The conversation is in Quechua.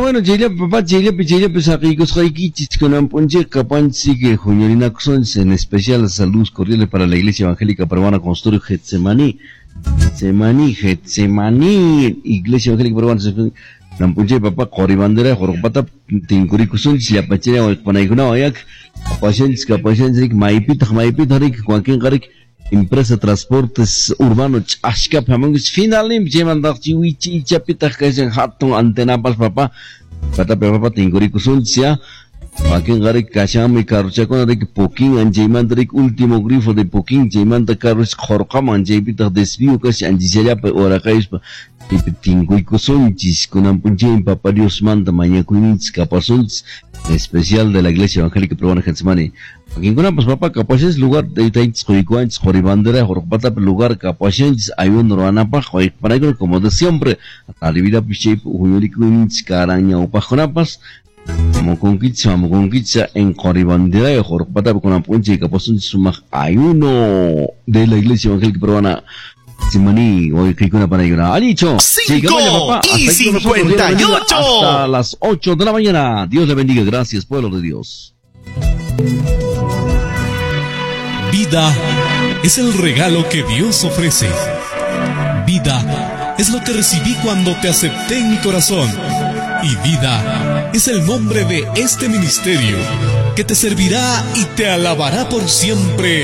Bueno, chayllapi papá, chayllapi, chayllapi saqiykusqaykichis kunan p'unchayqa panchik huñurinakusunchis, en especial saludos cordiales para la Iglesia Evangélica Peruana Consultorio Getsemaní, Getsemaní, Getsemaní, Iglesia Evangélica Peruana. Kunan p'unchay papá qori bandera hurqupata tinkurikusunchis llapachaya wayqpanaykunawan yak kapashanchis kapashanchis maypitaq maypitaq rik wakinqa rik empresa transportes urbano ch'askapi hamunkichis finalninpi chaymantaq wichi ichapitaq kashan hatun antenapas papá patapi papá tinkurikusunchis ya wakinqa rik kashanmi carrochakuna rik Puquín anchaymanta rik último grifo de Puquín chaymanta carros qhurqaman chaypitaq desvío kashan anchichallapa uraqayuspa chaypi tinkuykusunchis kunan p'unchaymi Papa Diosmanta mañakuyninchis kapasunchis en especial de la Iglesia Evangélica Peruana Getsemaní. Wakinkunapas papá kapashanchis lugar taytanchis quykuwanchis qori bandera hurqupatapi lugar kapashanchis ayuno ruwanapaq wayqpanaykuna como de siempre taribidapis chaypi huñurikuyninchis karan ñawpaqkunapas Mamukunkichis, mamukunkichis en qori bandera hurqupatapi kunan p'unchay kapasunchis sumaq ayuno de la Iglesia Evangélica Peruana Getsemaní, wayqiykuna panaykuna. Alicho, 5 papá. y Hasta aquí con nosotros, Dios le bendiga. 58. Hasta las 8 de la mañana. Dios le bendiga. Gracias, pueblo de Dios. Vida es el regalo que Dios ofrece. Vida es lo que recibí cuando te acepté en mi corazón. Y vida es el nombre de este ministerio que te servirá y te alabará por siempre.